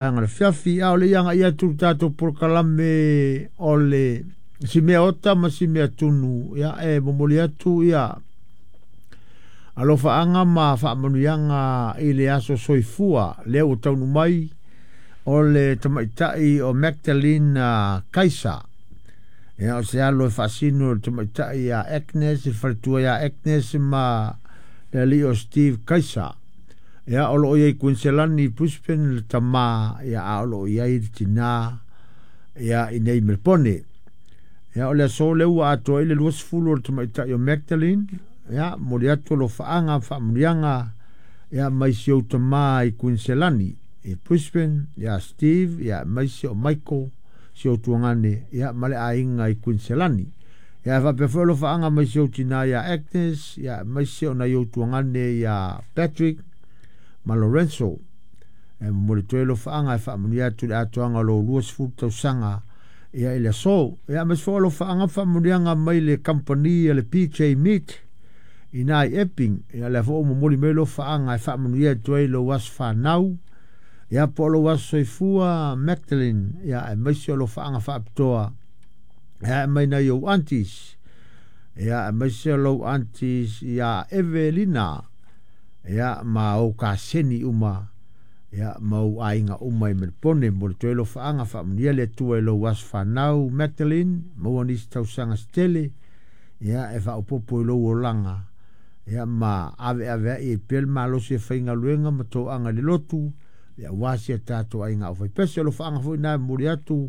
Vaega o le afiafi. A o le i agaia atu i le tatou polokalame o le si mea ota ma si mea tunu, ia e momoli atu ia alofaaga ma faamanuiaga i le aso soifua lea ua taunuu mai o le tamaitai o Magdalene Kaisa. Ia o se alo e faasino i le tamaitai ia Agnes, i le faletua ia Agnes ma le alii o Steve Kaisa. Ia o loo iai Kuiniselani i Brisbane le tama, ia a o loo iai le tina ia inei Melbone. Ia o le aso lea ua atoa ai le 20 o le tamaitai o Magdalene, ia momoli atu alofaaga ma faamanuiaga ia mai si ou tama i Kuiniselani i Brisbane, ia Steve, ia aemaise o Michael, si ou tuagane, ia ma le aiga i Kuiniselani. Ia e faapea foi alofaaga mai si ou tina ia Agnes, ia aemaise o nai ou tuagane ia Patrick ma Lorenzo. E momoli atu ai alofaaga e faamanuia atu i le atoaga o lou 20 tausaga ia i le aso. Ia aemaise foi alofaaga ma faamanuiaga mai le kamupani a le PJ Meat ina i Epping. Ia lea foi ua momoli mai alofaaga e faamanuia atu ai i lou aso fanau, ia po o lou aso soifua Magdalene, ia aemaise o alofaaga faapitoa ia ae mai nai ou aunties, ia aemaise o lou aunties ia Evelina, ia ma ou kaseni uma, ia ma ou aiga uma i Melbone. Momoli atu ai alofaaga, faamanuia le Atua i lou aso fanau Magdalene, maua nisi tausaga se tele, ia e faaopoopo i lou olaga, ia ma aveaveai ai pea le malosi e faigaluega ma toaga i le lotu, ia aua si a tatou aiga aufaipese. O alofaaga foi na e momoli atu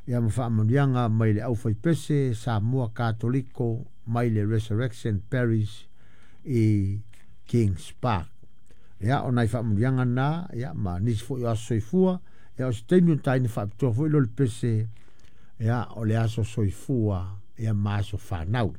ia ma faamanuiaga mai le aufaipese Samoa Katoliko mai le Resurrection Parish i Kings Park. Ia, o nai faamanuiaga na, ia, ma nisi foi o aso soifua, ia, o se taimi ona taina faapitoa foi lea o le pese, ia, o le aso soifua, ia, ma aso fanau.